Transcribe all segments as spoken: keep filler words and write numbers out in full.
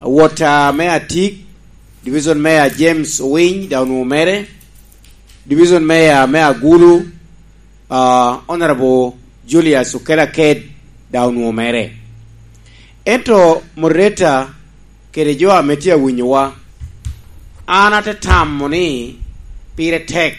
Awot, ah, me Atik, Division Mayor James Owiny, daŋ onwoŋo mere. Division Mayor me Agulu, ah, Honorable Julius Okela Ked, daŋ onwoŋo mere. Ento moderator kede jo ame tye awinyowa, an ate tamo ni pire tek,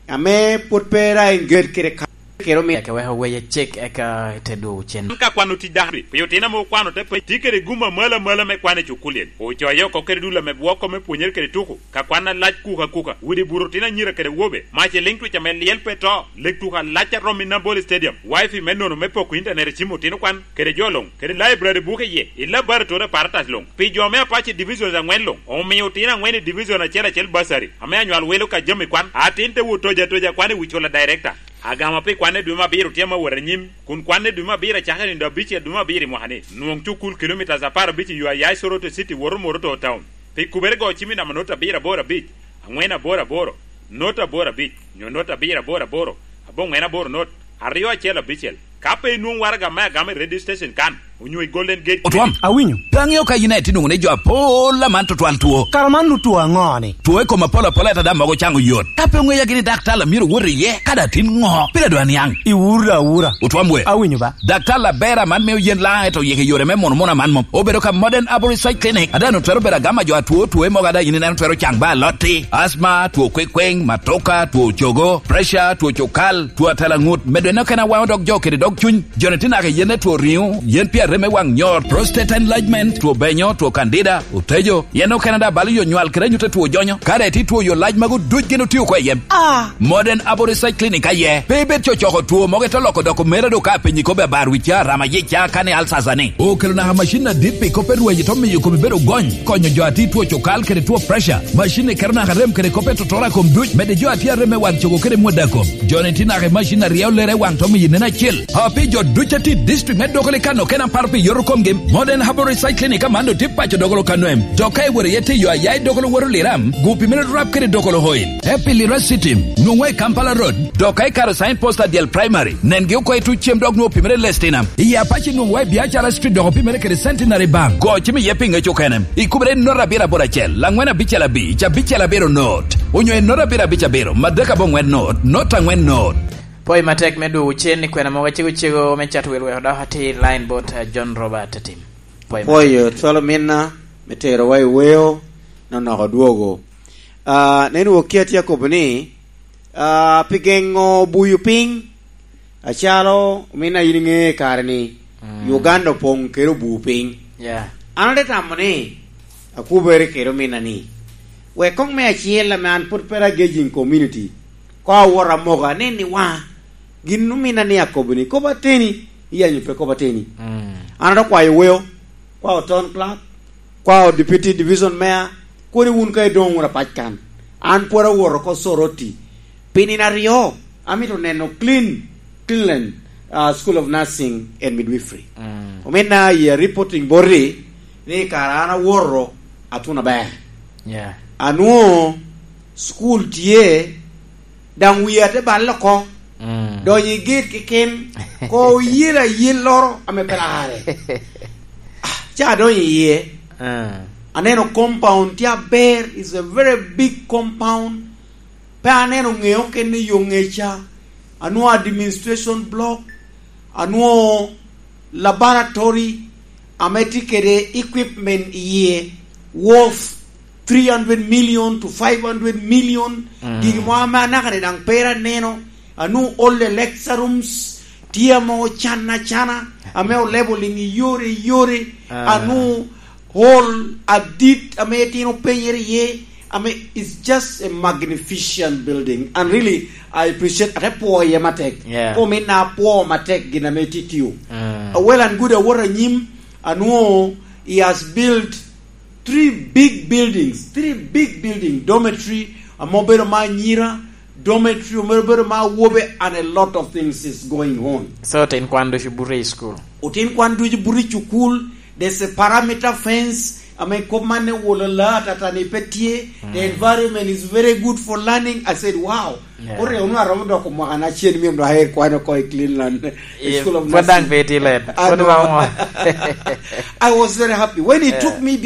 ame pwod pe ra engage kede ka-, kede omi- Eke wek owec ecik, eka ite dwogo cen. An ka kwano tic dano, pi otino ame okwano te pe-, tye kede gum amalo amalo me kwan i cukulien. Ocoyo oko kede dul ame bwoko me pwonyere kede tuko. Ka kwan alac kuka kuka, udi buto otino anyira kede wobe. Mac i liŋ twic ame lyel pe to. Lek tuko alac a romo i Nambole Stadium. Wifi me nono me poko internet i cim otino kwan, kede jo luŋ, kede library buke iye, i laboratory apparatus luŋ. Pi jo me Apache Divisions ang'wen luŋ, omio otino ang'wen i division acel acel bursary, ame anywal welo ka jami kwan. Atin te wot toja toja kwan i wi cula director. Agama pi kwanne dwe me abiro tye ame awot anyim, kun kwanne dwe me abiro acakere nino abicel dwe me abiro i mwaka-ni. Nwoŋ cukul kilomitas apar abic i yo a ya i Soroti City woto Moroto Town. Pi kubere go cim i namba not abiro aboro abic, aŋwen aboro aboro, not aboro abic, nyo not abiro aboro aboro, aboŋwen aboro not, aryo acel abicel. Ka pe inwoŋ waraga me agama i radio station kan, onyo i Golden Gate Otwam. Awinyo. Pe aŋeo ka yin aye tye nwoŋo ni jo apol aman tutwal two. Kara man nu two aŋo ni? Two i kom apol apol, ata daŋ mogo caŋo yot. Ka pe oŋeya gini daktar a myero wot iye, kadi atin ŋo? Pire dwa niaŋ. Iwura awura. Otwam we. Awinyo ba. Daktar Labera man mio yen laŋ eto yeke yore me mono mono aman mom. Obedo ka Modern Arbour Research Clinic. Ada nu twero bedo agama jo atwo, two mogo ada yin ineno twero caŋ ba alotti. Asma, two kwekweng, matoka, two cogo, pressure, two cukal, two atalaŋut. Medo eno kena waŋo dog jo kede dog cuny. Joni tye naka yen two riŋo, yen pi arem me waŋ nyor, prostate enlargement, two benyo, two candida, otejo. Yen okene da balo yo nywal kede anyut a two jonyo. Kare ti two yo lac mago duc gin otio ko i yem. Ah! Modern Arbour Research Clinic aye. Pe ibed cocoko two mogo ito loko doko mere do ka penyi kobe abar wi ca rama ye ca kane alsasa ni. Okelo naka macin adit pi kop e rwenyo to miyo kobe bedo gony. Konyo jo ati two cokal kede two pressure. Macin ni keto naka rem kede kop e totora kom duc. Mede jo ati arem me wan cogo kede mwada kom. Joni ti naka i macin aryo lere wan to miyo nen acil. Api jo duc ati district me Dokolo i kano kena par pi yoto komgi. Modern Herbal Recycling i kamano ti paco Dokolo kano em. Dok ka iwero ye tiyo aya i Dokolo woro liram, gupi mene rap kede Dokolo oil. Happy Lira City, nwoŋwa i Kampala Road. Dok ka ikaro sign post adyel primary, nengi oko i tuc cem dok nwoŋo pimere lestinam. I Apache nwoŋwa i Biacara Street dok opimere kede Centenary Bank. Go cim iye pi ŋec okene. Ikubere i not abiro aboro acel, angwen abicel abic, abicel abiro not. Onyo i not abiro abic abiro, madek aboŋwen not, not angwen not. Pwoyo matek me dwogo cen i kwena mogo cego cego me cato wil weko dok atir line bot, eh, John Robert Atim. Pwoyo matek. Pwoyo cwalo minna me terowa i weo, nonoko dwogo. Ah, nen wok ki atye akobo ni, ah, pi geŋo buyo piny, acalo ominna yin iŋe kare ni, mm, Uganda opoŋ kede obu piny. Yeah. An ate tamo ni, akubere kede ominna ni, wek koŋ me acel ame an pwod pe agejing community, ko awot amoka, anen ni wa, gin ominna ni akobo ni, kop ateni, iyanyo pe kop ateni. Mm. An ate kwayo weo, kwao town clerk, kwao deputy division mayor, koni wun ka idoŋ wunu apac kan. An pwod awoto oko Soroti. Pi nino aryo, amito neno clean, Cleanland, uh, School of Nursing and Midwifery. Mm. Ominna i reporting boti ni kara an awoto atuno aber. Yeah. Anwoŋo school tye, daŋ wiya te balle oko. Mm. Donyo i gate keken, ko oyel ayelloro ame pe larre. Ah, ca adonyo iye. Ah. Aneno compound tye aber, is a very big compound. Pe aneno ŋeo kene yo ŋeca. Anwoŋo administration block. Anwoŋo laboratory ame tye kede equipment iye worth three hundred million to five hundred million. Mm. Gigi mo ame anaka-ni daŋ pera aneno. Anwoŋo old lecture rooms tye ame ocan acana, ame olebo liŋ i yore i yore. Ah. Anwoŋo hall adit ame itino penyere iye, ame it's just a magnificent building. And really, I appreciate, ate pwo iye matek. Yeah. Kom ina apwo matek gin ame titio. Mm. Well and good, awot anyim, anwoŋo he has built three big buildings, three big building, dormitory, ame obedo ma anyira, dormitory, ame obedo ma awobe, and a lot of things is going on. So, otin kwan ducu buto i school? Otin kwan ducu buto i cukul. There's a perimeter fence. I mean, kop man ne wolo la tata ni pe tye. The environment is very good for learning. I said, "Wow." Yeah. Ore ono aromo dok mwaka na cien mi ndo aher kwano ko i Cleveland. School of Nursing. Pwod dang pe tye let. I was very happy. When he took me behind